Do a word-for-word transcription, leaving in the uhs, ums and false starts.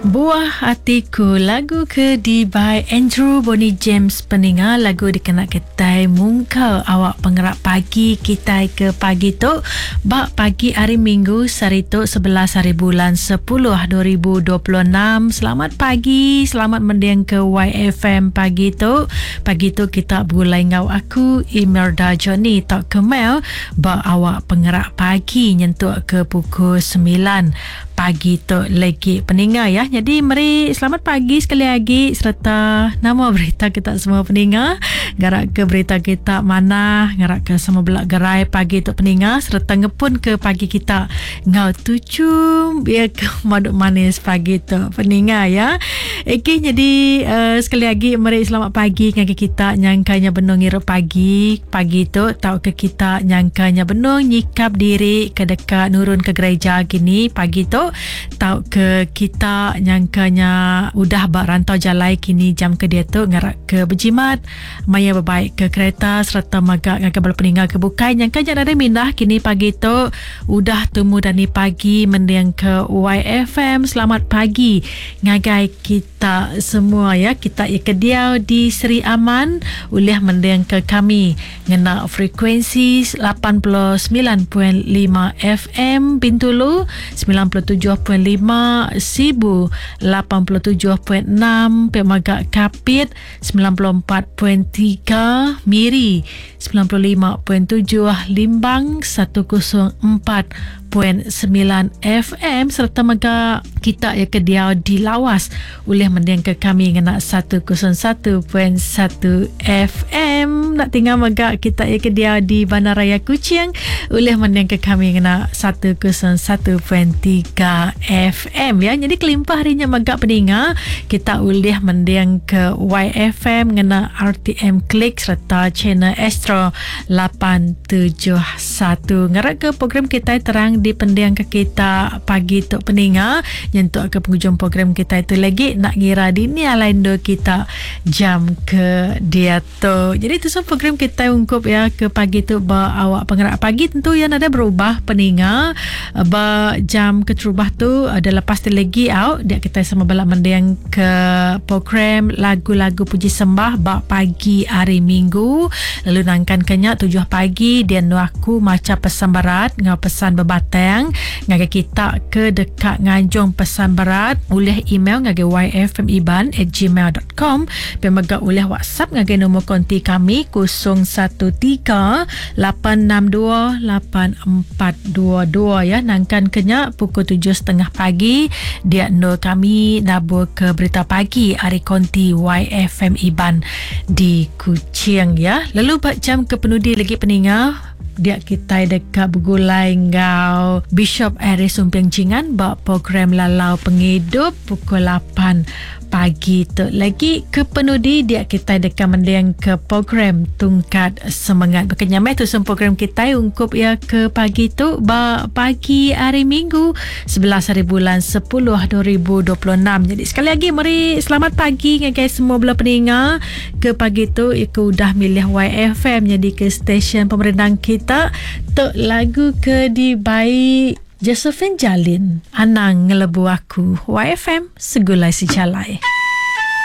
Buah Atiku lagu ke di by Andrew Bonnie James peninga lagu dikena kitai mungka awak pengerak pagi kitai ke pagi tu ba pagi hari Minggu sehari tu sebelas hari bulan sepuluh dua ribu dua puluh enam. Selamat pagi, selamat mending ke Y F M pagi tu. Pagi tu kita begulai ngau aku Imelda Johnny tok Kemel ba awak pengerak pagi nyentuk ke pukul sembilan pagi tu lagi peninga ya. Jadi meri selamat pagi sekali lagi serta nama berita kita semua peninga. Ngarak ke berita kita mana, ngarak ke semua belak gerai pagi tu peninga serta ngepun ke pagi kita ngau tuju biar ke maduk manis pagi tu peninga ya. Okey, jadi uh, sekali lagi meri selamat pagi ngagai kita nyangkanya benung ngirup pagi pagi tu tau ke kita nyangkanya benung nyikap diri ke dekat nurun ke gereja gini pagi tu tau ke kita nyangkanya udah bak rantau jalai kini jam ke dia tu ngarak ke berjimat maya berbaik ke kereta serta magak ngagai bala peninggal ke bukai nyangkanya ada mindah kini pagi tu udah temu dani pagi mending ke Y F M. Selamat pagi ngagai kita semua ya. Kita ya ke diau di Seri Aman ulih mending ke kami ngena frekuensi lapan puluh sembilan perpuluhan lima F M Bintulu, sembilan puluh tujuh perpuluhan lima Sibu, lapan puluh tujuh perpuluhan enam Pemagak Kapit, sembilan puluh empat perpuluhan tiga Miri, sembilan puluh lima perpuluhan tujuh Limbang, seratus empat perpuluhan sembilan F M serta mega kita ya ke diau di Lawas ulih mending ke kami ngena seratus satu perpuluhan satu F M. Nak tinggal mega kita ya ke diau di Bandaraya Kuching ulih mending ke kami ngena seratus satu perpuluhan tiga F M ya. Jadi kelimpah harinya mega peninga kita ulih mending ke Y F M ngena R T M Klik serta channel Astro lapan tujuh satu. Ngarap ke program kita terang dipending ke kita pagi tu peninga nyentuk ke penghujung program kita itu lagi nak ngira dini alain do kita jam ke dia tu. Jadi tu semua program kita ungkup ya ke pagi tu ba awak pengerak pagi tentu yang ada berubah peninga ba jam keterubah tu ada lepas tu lagi out dia kita sama balak mending ke program lagu-lagu puji sembah ba pagi hari Minggu lalu nangkan kenya tujuh pagi dia nu aku maca pesan berat ngau pesan bebat batang ngagai kita ke dekat nganjung pesan berat oleh email ngagai y f m iban at gmail dot com pemega oleh WhatsApp ngagai nombor konti kami kosong satu tiga lapan enam dua lapan empat dua dua ya. Nangkan kenya pukul tujuh tiga puluh pagi dia nur kami nabur ke berita pagi hari konti Y F M Iban di Kuching ya. Lalu bak jam ke penudi lagi peninga dia kita dekat bergulai ngau Bishop Aris Sumping Jingan bak program Lalau Penghidup pukul lapan pagi tu. Lagi ke penudi dia kita dekat mending ke program Tungkat Semangat. Berkenyamai tu semua program kita ungkup ya ke pagi tu bak pagi hari Minggu sebelas hari bulan sepuluh dua ribu dua puluh enam. Jadi sekali lagi meri selamat pagi ngagai semua bela peninga ke pagi tu iku udah milih Y F M jadi ke stesen pemerintah kita tok lagu ke dibai Josephine Jalin Anang Ngelebu Aku. Y F M Segulai Sejalai.